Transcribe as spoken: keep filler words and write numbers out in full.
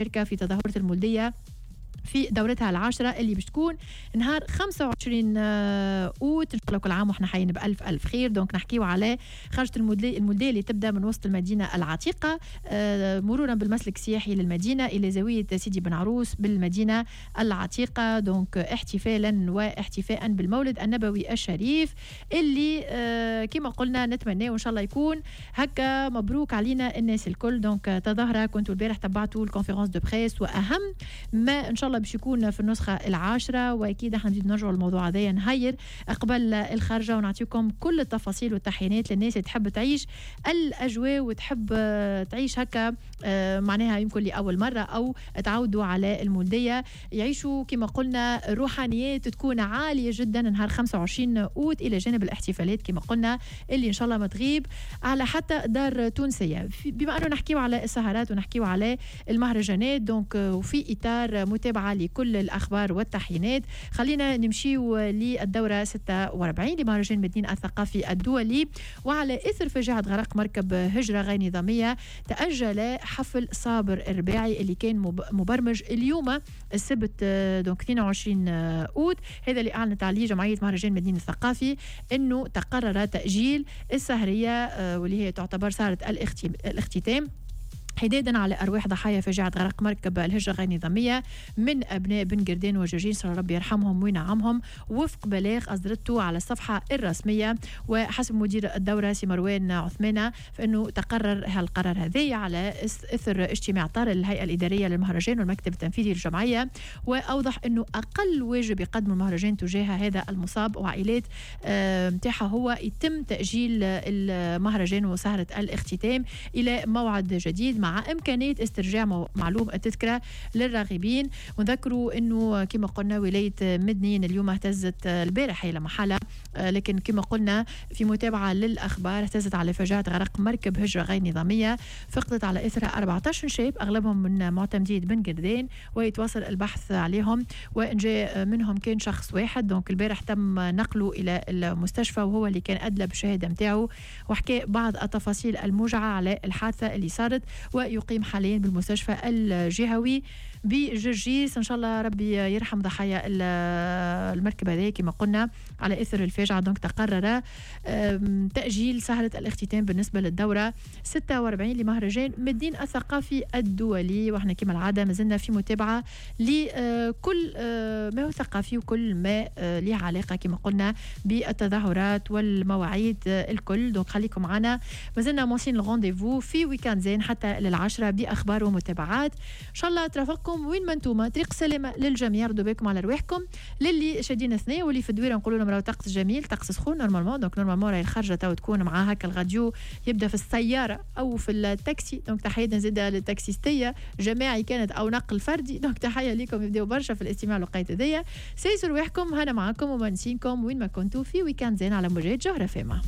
المشاركة في تظاهرة المولديه في دورتها العاشرة اللي باش تكون نهار خمسة وعشرين آه، أوت. إن شاء الله كل عام وإحنا حيين بألف ألف خير. donc نحكيو على خرجة المولدية اللي تبدأ من وسط المدينة العتيقة، آه، مرورا بالمسلك السياحي للمدينة إلى زاوية سيدي بن عروس بالمدينة العتيقة، donc احتفالا واحتفاء بالمولد النبوي الشريف اللي آه، كما قلنا نتمنى وإن شاء الله يكون هكا مبروك علينا الناس الكل. donc تظاهرة كنتوا البارح تبعتوا ال conférence de presse وأهم ما إن شاء الله باش يكون في النسخة العاشره. واكيد احنا نزيد نرجعوا للموضوع هذايا نهير قبل الخرجه ونعطيكم كل التفاصيل والتحيينات للناس اللي تحب تعيش الاجواء وتحب تعيش هكا آه، معناها يمكن لاول مرة او تعودوا على المولديه، يعيشوا كما قلنا روحانيات تكون عالية جدا نهار خمسة وعشرين اوت، الى جانب الاحتفالات كما قلنا اللي ان شاء الله ما تغيب على حتى دار تونسيه. بما انه نحكيو على السهرات ونحكيو على المهرجانات، donc وفي اطار متابعه لكل الاخبار والتحيينات، خلينا نمشيو للدورة ستة وأربعين لمهرجان مدنين الثقافي الدولي. وعلى اثر فاجعة غرق مركب هجره غير نظاميه، تاجل حفل صابر الرباعي اللي كان مبرمج اليوم السبت donc اثنين وعشرين اوت. هذا اللي اعلنت عليه جمعية مهرجان مدنين الثقافي، انه تقرر تاجيل السهريه آه، واللي هي تعتبر سهره الاختتام، حدادا على أرواح ضحايا فاجعة غرق مركب الهجرة غير نظامية من أبناء بن قردان وجرجيس، ربي يرحمهم وينعمهم، وفق بلاغ أصدرته على الصفحة الرسمية. وحسب مدير الدورة سي مروان عثمانة، فإنه تقرر هالقرار هذا على إثر اجتماع طارئ للهيئة الإدارية للمهرجان والمكتب التنفيذي للجمعية. وأوضح أنه أقل واجب يقدم المهرجان تجاه هذا المصاب وعائلات نتاعها هو يتم تأجيل المهرجان وسهرة الاختتام إلى موعد جديد، مع إمكانية استرجاع معلوم التذكرة للراغبين. ونذكروا أنه كما قلنا ولاية مدنين اليوم اهتزت، البارح هي محالة، لكن كما قلنا في متابعة للأخبار، اهتزت على فاجعة غرق مركب هجرة غير نظامية فقدت على إثرها أربعة عشر شاب أغلبهم من معتمدية بن قردان، ويتواصل البحث عليهم، وإنجاء منهم كان شخص واحد. donc البارح تم نقله إلى المستشفى وهو اللي كان أدلى بالشهادة متاعه وحكى بعض التفاصيل الموجعة على الحادثة اللي صارت، ويقيم حاليا بالمستشفى الجهوي بجرجيس. ان شاء الله ربي يرحم ضحايا المركب هذه. كما قلنا على اثر الفاجعة donc تقرر تاجيل سهره الاختتام بالنسبة للدورة ستة وأربعين لمهرجان مدنين الثقافي الدولي. واحنا كما العادة مازلنا في متابعه لكل آه، ما هو ثقافي وكل ما آه، له علاقة كما قلنا بالتظاهرات والمواعيد الكل. donc خليكم معنا، مازلنا مواصلين ال rendez-vous في week-end زين حتى للعشرة باخبار ومتابعات ان شاء الله ترافقكم وين ما انتم. طريق سلامه للجميع، ردوا بالكم على رواحكم. للي شادين ثنيه واللي في الدويره نقولوا لهم راهو طقس جميل، طقس سخون normalement، donc normalement راهي الخرجه تو تكون مع هكا الراديو يبدا في السيارة او في التاكسي. donc تحية زاده للتاكسيستيه، جماعي كانت او نقل فردي، donc تحية لكم، يبداو برشا في الاستماع الوقيت هذيا. سايسوا رواحكم، هنا معاكم ومونسينكم وين ما كنتوا في week-end زين على موجات جوهرة اف ام.